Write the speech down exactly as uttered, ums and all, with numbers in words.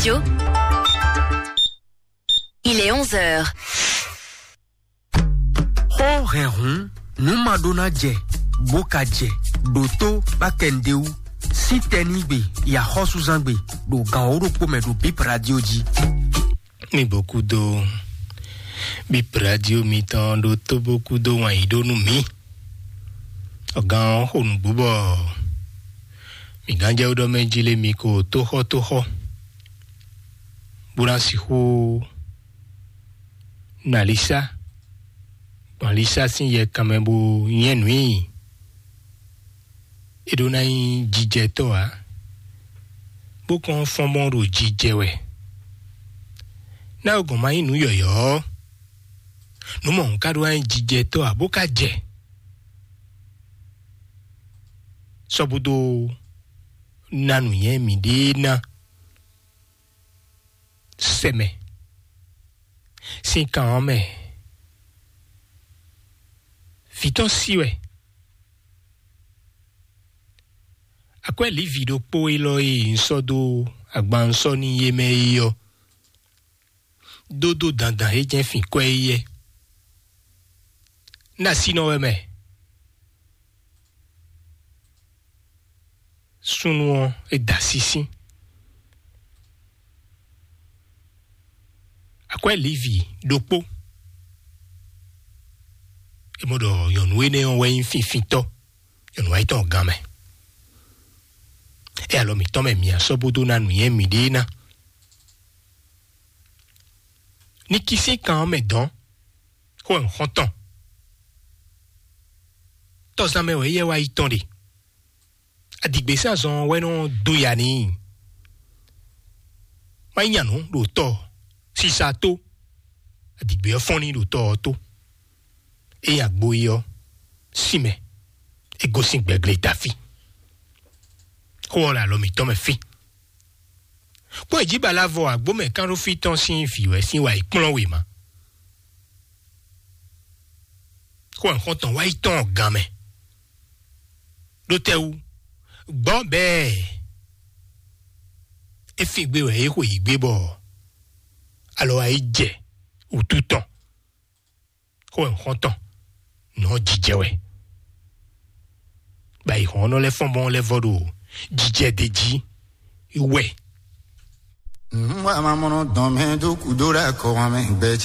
radio. Il est onze heures. Xó hɛn hǔn, nǔ ma ɖó ná jɛ, bó ka jɛ, ɖo tó bá kɛ nǔɖé wú, sín tɛnígbe, yi axɔ́súzángbe, ɖo gan wǒ ɖokpó mɛ ɖo Bip Radio jí. Mi bó kúdó Bip Radio mitɔn ɖo tó bó kúdó wǎn yí ɖó nú mǐ. Ɔgán ɔ́ xo nǔgbó bɔ mǐ gán jɛ ɖɔ mɛ jí lé mi ko tóxɔ́ tóxɔ́, bó ná sixú nɔ alisá, gbɔn alisá sín yɛ kanmɛ bó nyɛ́ nǔ i. É ɖó ná nyí jijɛtɔ́ ǎ, bó kɔn fɔ́n mɔ ɖo jijɛ wɛ. Ná gɔn ma nyí nǔ yɔ̌yɔ́ ɔ́, nǔ mɔ̌hun ka ɖó ná nyí jijɛtɔ́ ǎ, bó ka jɛ. Sɔ́ búdó ná nǔnywɛ́ mǐɖée ná sɛ mɛ sín kan ɔ́ mɛ. Vǐ tɔn sí wɛ. Akwɛ́ Livi ɖokpó élɔ́ e un sɔ́ dó agban un sɔ́ n'i é mɛ é ɔ́, dó dó dandan é jɛ́n fin kwɛ́ é yɛ́. Un ɖo asínɔ wɛ mɛ. Súnnu ɔ́, é da sísí. Akwɛ́ Livi ɖokpó. É mɔ ɖɔ nyɔ̌nu énɛ́ ɔ́ wɛ nyí finfintɔ́, nyɔ̌nu wá yi tɔn gan mɛ. É alɔ mǐtɔn mɛ mǐ asɔ́ bó dó ná nǔnywɛ́ mǐɖée ná. Ní kí sín kan ɔ́ mɛ dɔn, xó wɛ un xɔ́n tɔn. Tɔzán mɛ wɛ éyɛ́ wá yi tɔn ɖe. Adigbesázɔn wɛ nɔ dó ya n'i. Má nyí nyanú ɖo tɔ sisa tó. Adigbe ɔ́ fɔ́n ní ɖo tɔ ɔ́ tó. Ényí agbo é ɔ́, sin mɛ, é gosín gbɛgle dafí. Xó ɔ́ le alɔ mǐtɔn mɛ fí. Kpɔ́n è jí balavɔ agbómɛ kánɖófí tɔn sín vǐ wɛ sín wa yi kplɔ́n wěma. Xó ɔ́ xɔ́ntɔn wá yi tɔn gan mɛ. Ɖó tɛ́ wú? Gbɔ́ bɛɛ é fin gbé wɛ é xwe yǐ gbé bɔ alɔ wá yi jɛ wǔtu tɔn. Xó ɔ́ xɔ́ntɔn nɔ jijɛ wɛ. Ba yi hɔn nɔ lɛ́ fɔ́n bɔn lɛ́ vɔ ɖo jijɛ ɖe jí wɛ. Nwa mamɔnɔ dɔn mɛ dó kudo ɖe akɔ wa mɛ gbɛ